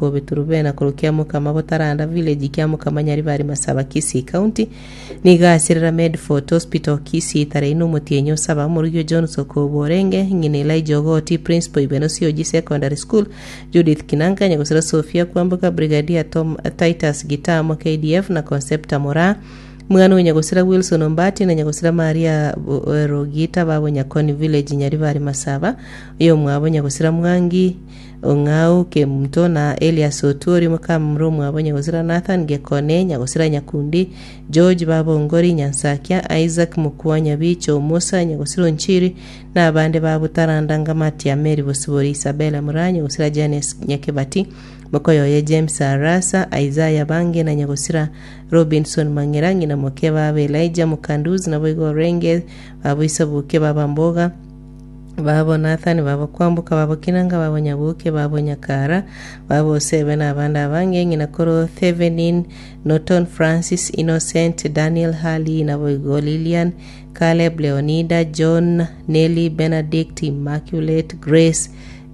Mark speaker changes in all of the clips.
Speaker 1: Kobe Turubena korwa Kiamokama Botaranda Village Kiamokama Nyaribari Masaba Kisii County Nigo asirera Medfort Hospital Kisii tarehe ine omotienyi o saba Omorwigi o John Sokobo orenge ng'ina Elijah Ogoti Principal Ibeno COG Secondary School Judith Kinanka Nyagosira Sophia Kwamboka Brigadier Tom Titus Gitamo KDF na Concepta Moraa Mwana o Nyagosira Wilson Ombati na Nyagosira Maria Rogita babo Nyakoni Village Nyaribari Masaba oyomwabo Nyagosira Mwangi Ong'au Kemunto na Elias Otuori mokamura omwabo Nyagosira Nathan Gekone Nyagosira Nyakundi George baba Ongori Nyansakia Isaac Mokua Nyabicho Musa Nyagosira Onchiri na abande babo Taranda Ngamatia Mary Bosibori Isabella Muraa Nyagosira Janes Nyakebati Mokoyoye James Arasa Isaiah Bange na Nyagosira Robinson Mang'era ng'ina moke baba Elijah Mukanduzi naboigo Orenge babo Isabuke baba Mboga Babo Nathani, babo Kwamboka, babo Kinanga, babo Nyabuke, babo Nyakara, babo Osebe, na abande abange, ng'ina korwa Thevenin, Norton, Francis, Innocent, Daniel, Harley, naboigo Lilian, Caleb, Leonida, John, Nelly, Benedict, Immaculate, Grace,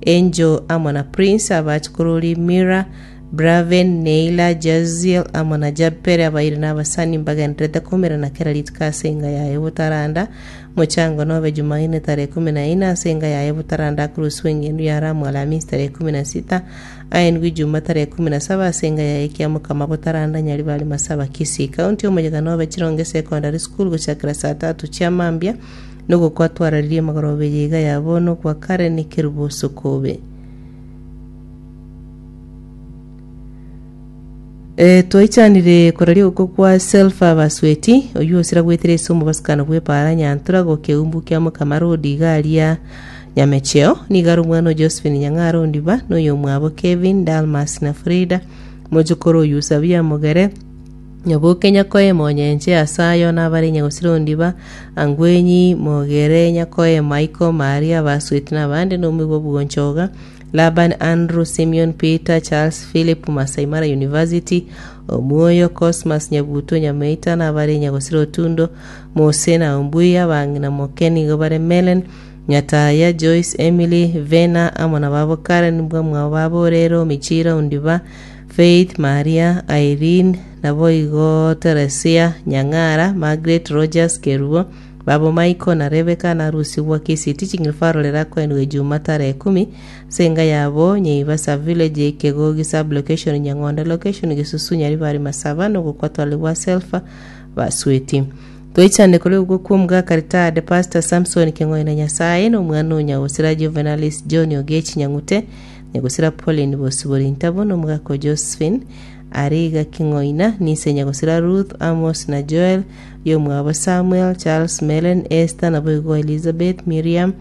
Speaker 1: Angel, amo na Prince, abachukururi Mira, Braven, Neila, Jaziel, amo na Jabpere, abairi na abasani mbagendererete koumerana kera rituko ase enga yaye botaranda Mochango nobe Jumaine tarehe ikomi na ine ase enga yaye botaranda akorusigwa engendu ya Ramu Alamisi tarehe 16, aendwe Ijuma tarehe 17 ase enga yaye Kiamokama botaranda Nyaribari Masaba Kisii County omoyega nobe Chironge Secondary School gochakera saa tatu chia mambia nogokwa twararirie magoroba eye iga ya bono gwa Karen Kerubo Sokobe. Eh, twaichanire koraria ogokwa kwa Selfa Basweti, oyio osira goetera ase omobasukano bw'epaara Nyantura gokeumbu kia Mokama Road iga aria Nyamecheo. Nigo are omwana o Josephine Nyang'ara Ondiba na oyomwabo Kevin, Dalmas na Frida, mochokoro oyio Sabia Mogere, Nyaboke Nyakoe Monyenche Asayo nabare Nyagosira Ondiba, Angwenyi, Mogere, Nyakoe, Michael, Maria, Basweti na abande na omoigwa bw'Onchoga. Laban, Andrew, Simeon, Peter, Charles, Philip, Masai Mara University, Omwoyo, Cosmas, Nyabuto, Nyameita, na abare Nyagosira Otundo, Mose na Ombui, abang'ina moke nigo bare Melen, Nyataya, Joyce, Emily, Vena, amo na babo Karen, mbwamwabo babo Orero, Michira, Ondiba, Faith, Maria, Irene, naboigo Teresia, Nyang'ara, Margaret, Rogers, Kerubo, Babo Michael na Rebecca narusigwa Kisii Teaching Referral erakoenigwe Ejuma tarehe ikomi ase enka yabo Nyaibasa Village Kegogi Sub Location Nyang'onde Location Gesusu Nyaribari Masaba nogokwa twaligwa Selfa Basweti. Toichane korwa ogokwa kw'omogaka retired Pastor Samson Keng'oina Nyasaye na omwana o Nyagosira Juvenalis John Ogechi Nyang'ute Nyagosira Pauline Bosibori Ntabo na omogaka o Josephine Ariga King'oina Nise Nyagosira Ruth Amos na Joel Yomwabo Samuel, Charles, Melen, Esther, naboigo Elizabeth, Miriam,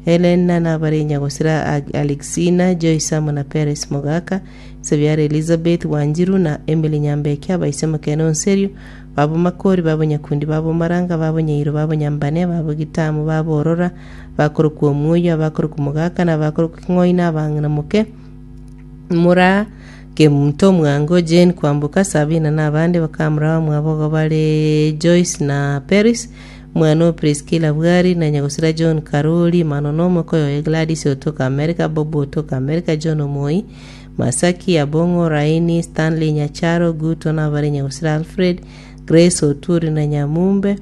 Speaker 1: Helen, na nabare nyagosira Alexina, Joyce amo na Peres Mogaka, Sebiara Elizabeth, Wanjiru na Emily Nyambeki, abaise Mokene Onserio, babo Makori, babo Nyakundi, babo Maranga, babo Nyairo, babo Nyambane, babo Gitamu, babo Orora, bakorokwa Omuoyo, abakorokwa Mogaka, na abakorokwa King'oina, abang'ina moke, Mura, Kemunto, Mwango, Jane, Kwamboka, Sabina na abande bakamura bamwabo igo bare Joyce na Peris, omwana o Priscilla Bwari, na nyagosira John Karoli, Mano na omokoyo oye Gladys otoka America, Bob otoka America, John Omoi, Masaki, Abong'o, Raini, Stanley Nyacharo, Guto na abare nyagosira Alfred, Grace Oturi na Nyamumbe,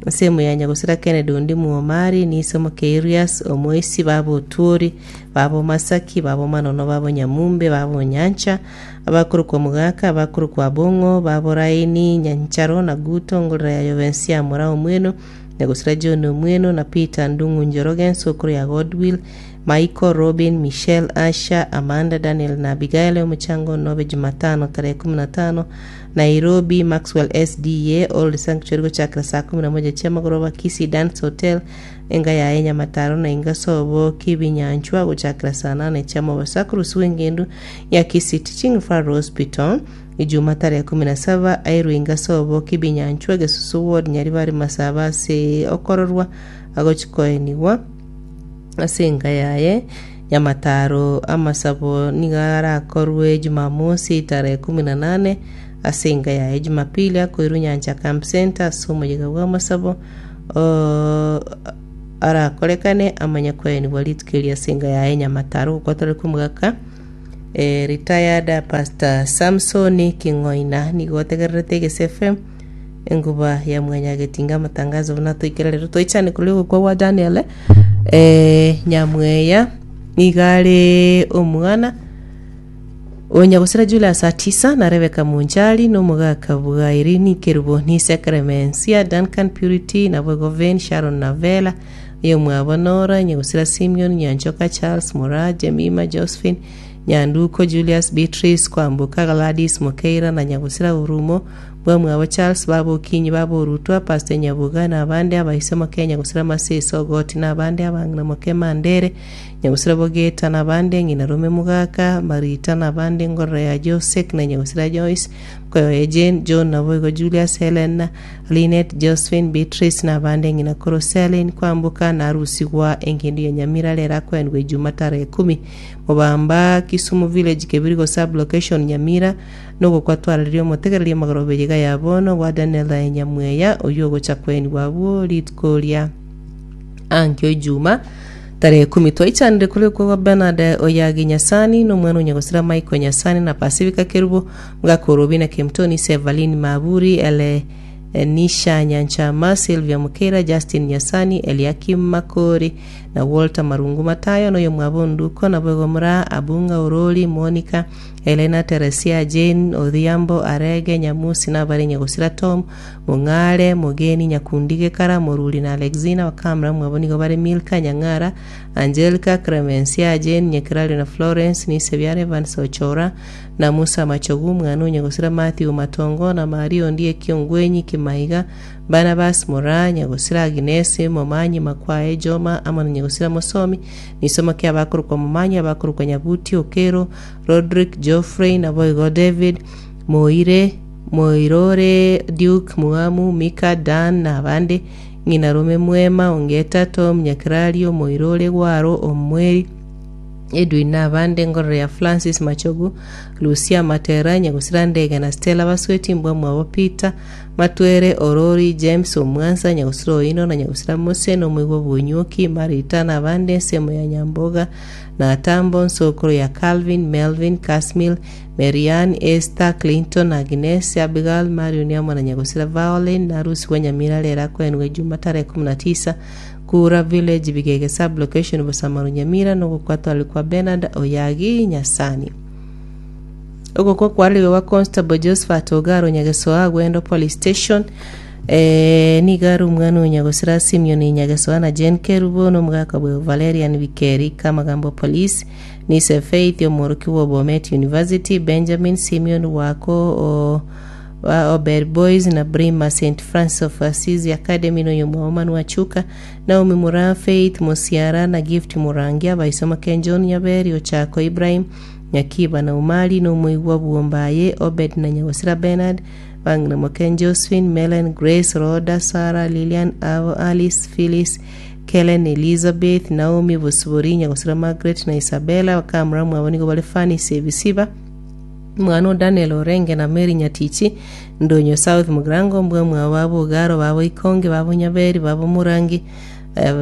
Speaker 1: Ensemo ya nyagosira Kennedy Ondimu Omari, Niso Mokeirias, Omoisi, baba Otuori, baba Omasaki, baba Omanono, baba Onyamumbe, baba Onyancha, abakorokwa Mogaka, abakorokwa Abong'o, baba Oraini, Nyancharo, na Guto, ngorora ya Yobensia Mora Omweno, nyagosira John Omweno, na Peter Ndung'u Njoroge, ensokoro ya Godwill, Michael, Robin, Michelle, Asha, Amanda, Daniel na Abigail, omochango nobe Jumatano tarehe kumi na tano, Nairobi, Maxwell SDA, Old Sanctuary gochakera saa kumi na moja chiamagoroba, Kisii Dance Hotel, enga yaye Nyamataro na inga sobo Kibinyanchwa gochakera saa nane chiamobaso akorusigwa engendu ya Kisii Teaching Referral Hospital, Ijuma tarehe kumi na saba airwe inga sobo Kibinyanchwa, Gesusu Ward, Nyaribari Masaba ase okororwa agochikoenigwa. Ase enka yaye y'amataro amasabo nigo arakorwe Jumamosi tarehe kumi na nane, ase enka yaye Jumapili akoirwe Nyancha Camp Centre ase omoyega bw'amasabo arakorekane amanye koenigwa rituko erio ase enka yaye nyamataro gokwatorerwa omogaka. Retired Pastor Samson King'oina nigo otegererete Egese FM enguba ya mwanyagetinga amatangazo buna toikera rero toichane korwa ogokwa gwa Daniel Nyamweya nigo are omwana o Nyagosira Julius Atisa na Rebecca Munchari na omogaka bwa Irene Kerubo Nise Clemencia Duncan Purity naboigo Vane Sharon na Vela Oyomwabo Nora, Nyagusira Simeon, Nyanchoka Charles, Moraa, Jemima, Josephine, Nyanduko, Julius, Beatrice, Kwamboka, Gladys, Mokeira, na Nyagusira Orumo, Bwamwabo Charles, Baba Okinyi, Baba Orutwa, Pastor Nyabuga, na abande abaise moke Nyagusira Masese, Ogoti, na abande abang'ina moke Mandere, Nyagusira Bogeta, na abande ng'ina Rome Mogaka, Marita, na abande Ngorora ya Josek, na Nyagusira Joyce, Mkoyoye Jane, John, naboigo Julius, Helen, Linet, Josephine, Beatrice, na abande ng'ina korwa Selin kwamboka na arusigwa engendu ya Nyamira rero akoenigwa Ijuma tarehe ikomi Mobamba, Kisumu Village, Kebirigo Sub-location, Nyamira, nogokwa twarareria omotegereria amagoroba eyeiga ya bono gwa Daniel aye Nyamweya oyio ogocha koenigwa abwo rituko ria ankio Ijuma tarehe ikomi twaichanire korikwa gwa Bernard Oyagi Nyasani na omwana o Nyagosira Michael Nyasani na Pacifica Kerubo Gakorobia na Kemtoni, Sevalin Maburi, Ele Nisha Nyanchama, Sylvia Mukeira, Justin Nyasani, Eliakim Makori, na Walter Marungu Matayo, na oyomwabo Nduko, naboigo Moraa, Abunga, Orori, Monica, Helena, Teresia, Jane, Odhiambo, Arege, Nyamusi, na abare Nyagosira Tom, Mong'are, Mogeni, Nyakundi, Gekara, Moruri, na Alexina, bakamura mwabo nigo bare Milka, Nyang'ara, Angelica, Clemencia, Jane, Nyekerario, na Florence, Nisebiare, Evans, Ochora, Na Musa Machogu, omwana o nyagosira Mathew Matongo, na Maria onde ekiongwenyi kimaiga, Barnabas Moraa, nyagosira Aginesi, Momanyi Makwae, Joma, amo na nyagosira Mosomi, nisomo ki abakorokwa Momanyi, abakorokwa Nyabuti, Okero, Rodrick, Geoffrey, naboigo David, Moire, Moirore, Duke, Muamu, Mika, Dan, na abande, ng'ina Rome Mwema, Ongeta, Tom, Nyakerario, Moirore, Gwaro, Omweri, Edwin na abande ngororo ya Francis Machogu, Lucia Matera, Nyagusira Ndege na Stella Basweti, mbwa mwabo Peter, Matwere, Orori, James Omwansa, Nyagusira Oino na Nyagusira Mose na omoigwa bw'Onywoki, Marita na abande ensemo ya Nyamboga na Atambo, nsokoro ya Calvin, Melvin, Casmil, Marianne, Esther, Clinton, Agnes, Abigail, Marion amo na Nyagusira Violin na Rusi Nyamira rero akoenigwe Juma tarehe 19 Kura Village, Bigege Sub-location, Busamaru Nyamira, nogokwatwarwa kwa Bernard Oyagi Nyasani. Ogokwa kwarariwe gwa Constable Josephat Ogaro Nyagesoa Gwendo Police Station eh, nigo are omwana o Nyagosira Simeon Nyagesoa na Jane Kerubo na omogaka bwe Valerian Bikeri Kamagambo Police Nise Faith omworokigwa o Bomet University Benjamin Simeon Wako o Ba Obed Boys na Brima St Francis of Assisi Academy na oyomwabo Manua Chuka, Naomi Muraa, Faith Musiara na Gift Murangi, abaisoma Ken John Nyaberi, Ochako Ibrahim, Nyakiba na Umali na omoigwa bw'Ombaye, Obed na Nyagosira Bernard, bang'ina Moken Josephine, Melen, Grace, Rhoda, Sarah, Lilian, Avo, Alice, Phyllis, Kellen, Elizabeth, Naomi, Bosibori, Nyagosira Margaret na Isabella, bakamura mwabo nigo bare Fanisi Ebisiba, Omwana o Daniel orenge na Mary Nyatichi, Ndonyo South Mugirango, mbwa mwabo babo Ogaro, babo Ikonge, babo Nyaberi, babo Murangi,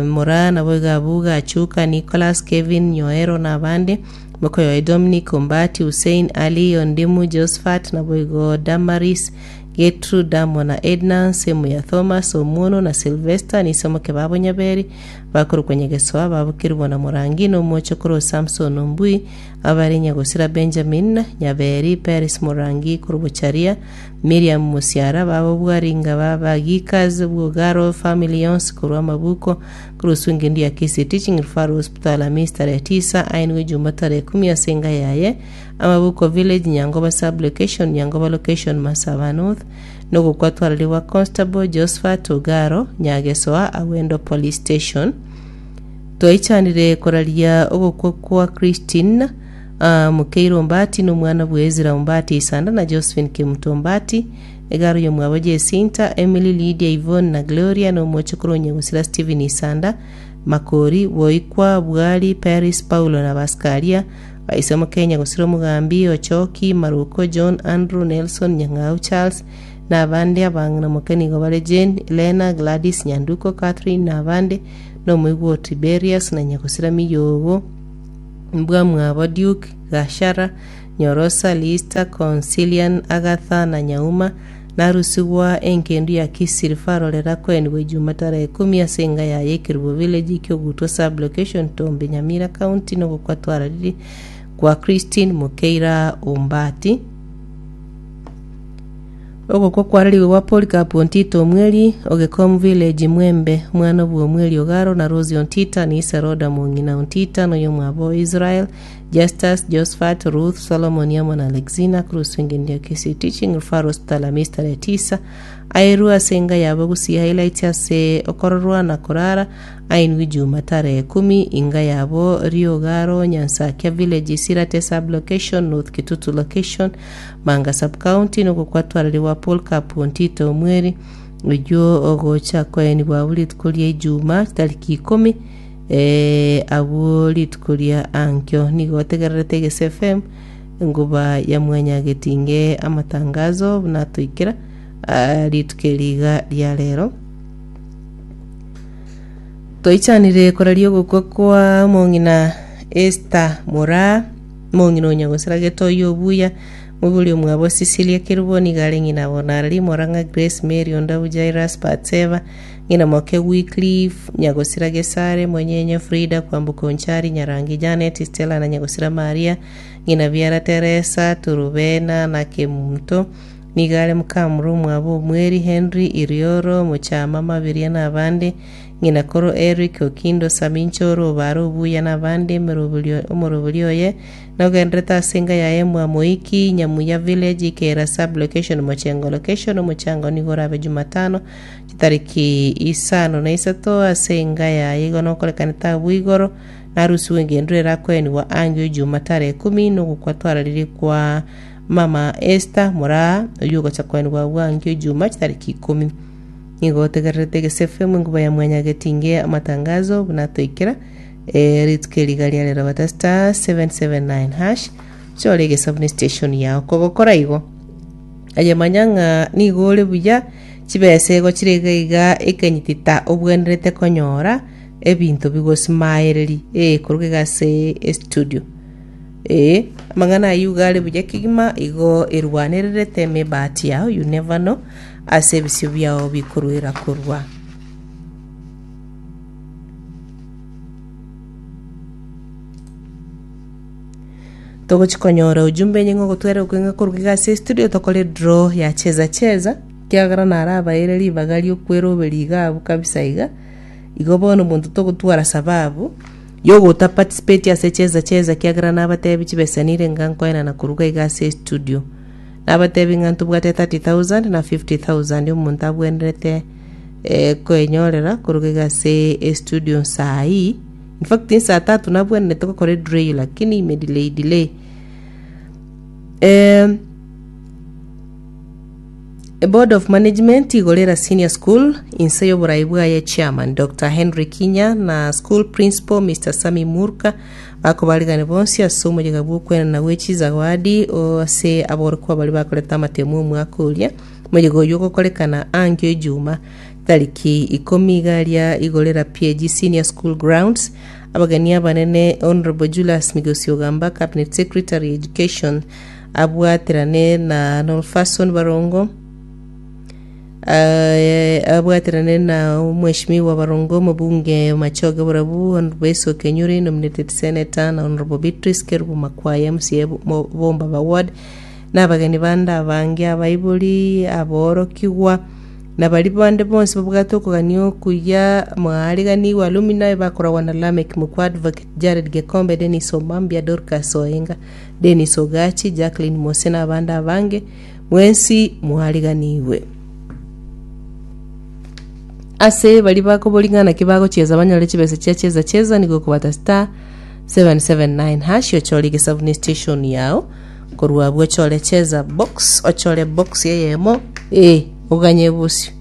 Speaker 1: Moraa, naboigo Abuga, Achuka, Nicholas, Kevin, Nyoero na abande, mokoyoe Dominic, Ombati, Hussein, Ali, Ondimu, Josephat, naboigo Damaris, Getrude amo na Edna, nsemo ya Thomas, Omuono na Sylvester, nisomoke babo Nyaberi, bakorokwa Nyagesoa, babo Kerubo na Morangi, na omochokoro o Samson Ombui, Abare Nyagosira Benjamin, Nyaberi, Peris Morangi korwa Bocharia, Miriam Mosiara, babo Bwaringa baba Gikas, Bwogaro family yonsi korwa Amabuko, korwa Swingendu ya Kisii Teaching Referral Hospital Amisi tarehe tisa, ainwe Ijuma tarehe kumi ase enga yaye, Amabuko Village, Nyangoba Sub Location, Nyangoba Location, Masaba North, nogokwa twararigwa Constable Josephat Ogaro, Nyagesoa, Awendo Police Station. Twaichanire koraria ogokwa kwa Christine Mukeire Ombati na omwana bwe Ezra Ombati Isanda na Josephine Kemuto Ombati, egaro y'omwabo Jesinta, Emily, Lydia, Yvonne na Gloria na omochokoro o Nyagosira Stephen Isanda, Makori, Boikwa, Bwari, Paris, Paulo na Baskaria, Baise moke Nyagosira Omogambi, Ochoki, Maruko, John, Andrew, Nelson, Nyang'au, Charles, na abande abang'ina moke nigo bare Jane, Lena, Gladys, Nyanduko, Catherine na abande, Nomoigwa o Tiberias, na nyagosira Miyogo, mbwamwabo Duke, Gashara, Nyorosa, Lista, Consilian, Agatha na Nyauma, narusigwa engendu ya Kisii Referral erakoenigwa Ijuma tarehe ikomi ase enga yaye Ekerubo Village, Kiogutwa Sub-location, Tombe, Nyamira County nogokwa twarariri kwa Christine Mokeira Ombati. Ogokwa kwararigwe gwa Polycarp Ontita Omweri, Ogekom Village, Mwembe, omwana bw'Omweri Ogaro na Rose Ontita, na ise Roda mong'ina Ontita, na oyomwabo Israel, Justus, Josphat, Ruth, Solomon amo na Alexina, korwa engencho ya Kisii Teaching Referral Hospital Amis tarehe tisa, aerwe ase enga yabo Gusii Highlights ase okororwa na korara, ainwe Juma tarehe kumi, inga yabo Riogaro, Nyansakia Village, Sirate Sub-location, North Kitutu Location, Manga Sub-county, nogokwatwarerigwa Polycarp Ontito Omweri, oyio ogocha koenigwa abwo rituko ria Ijuma chitariki ikomi, eh, abwo rituko ria ankio. Nigo otegererete Egese FM, enguba ya mwanyagetinge amatangazo buna atoikera ah, rituko eri iga ria rero. Toichanire koraria ogokwa kwa omong'ina Esther Moraa, omong'ina o nyagosira gete oyio obuya, moibori omwabo Cecilia Kerubo, nigo are ng'ina Bonarari Morang'a Grace Mary Ondabu Jairus Batseba, ng'ina moke Wycliffe Nyagosira Gesare, Monyenye Frida Kwamboka Onchari Nyarangi Janet Stella na Nyagosira Maria, ng'ina biara Teresa Turubena na Kemunto, Nigo are mokamura omwabo Omweri Henry, Irioro, Mochama, Mabiria na abande, ng'ina koro Eric, Okindo, Saminchoro, Obare Obuya na abande, emeroberio omoroberi oye nogenderete ase enka yaye mwa Moiki, Nyamuya Village, Ikera Sub Location, Mochengo Location, omochango nigo orabe Jumatano chitariki isano na isato ase enka yaye igo nokorekanete abwo igoro narusiwe engendu erakoenigwa angio Juma tarehe kumi nogokwa twararirie kwa Mama Esther Moraa, oyio ogocha koenigwa bwangio Ijuma chitariki ikomi. Nigo otegererete Egese FM enkuba ya Mwanyagetinge amatangazo buna toikera eh, rituko eri iga ria rero bata star 779 hash chore egesabuni station yao kogokora igo aye manya ng'a nigo ore buya chibesa igo chire iga iga ekenyitita obwenerete konyora ebinto bigosimaereri eh koruga iga ase estudio Ee, amang'ana ayio iga are buya kegima, igo erwanererete emebati yao, you never know, ase ebisio biao bikorwera korwa. Togochi konyora ujumbe enye ng'a ogotwera okwe ng'a koruga iga ase estudio tokore draw ya cheza cheza, ekiagera narabaeire ribaga riokweroberia iga abwo kabisa iga, igo bono omonto togotwara sababu. Yogota participate ase cheza cheza kiagera nabatebi chibesa nire nga nkoenana koruga iga ase estudio. Nabatebi ng'a ntobwate 30000 na 50000 omonto abwenerete eh, koenyorera koruga iga ase estudio nsaa hii. In fact nsaa tatu nabwenerete gokora edraw eyio lakini ime delay delay. Eh, Board of Management Igorera Senior School inse y'oborai bwaye Chairman Doctor Henry Kinya na School Principal Mister Sammy Murka bakobarigani bonsi ase omoyega bw'okwenana gwe chizawadi ase aborokigwa baria bakorete amatemo omwaka oria. Omoyega oyio ogokorekana ankio ejuma tariki ikomi iga aria Igorera PAG Senior School Grounds. Abageni abanene Honourable Julius Migosi Ogamba Cabinet Secretary Education Abwaterane na Nolfason Barongo, eh, abwaterane na Omweshimiwa Barongo, omobunge Machoge Borabu, Honorable Esau Kenyuri, nominated senator, na Honorable Beatrice Kerubo Makwaya, MCA Bo- Bombaba Ward, na abageni bande abange, abaibori, aborokigwa, na baria bande bonsi babwate okogania okuya, mwaariganigwe alumni bakoragwa na Lameck Mukwa, Advocate Jared Gekombe, Dennis Omambia, Dorcas Oenga, Dennis Ogachi, Jacqueline Mose na abande abange, mwensi mwariganigwe. Ase baria bakoboria ng'a naki bagochieza banyore chibesa chia cheza cheza nigo okobata star 779 hash ochore egesabuni station yao korwa abwo ochore cheza box ochore box eyemo eh oganye bosio.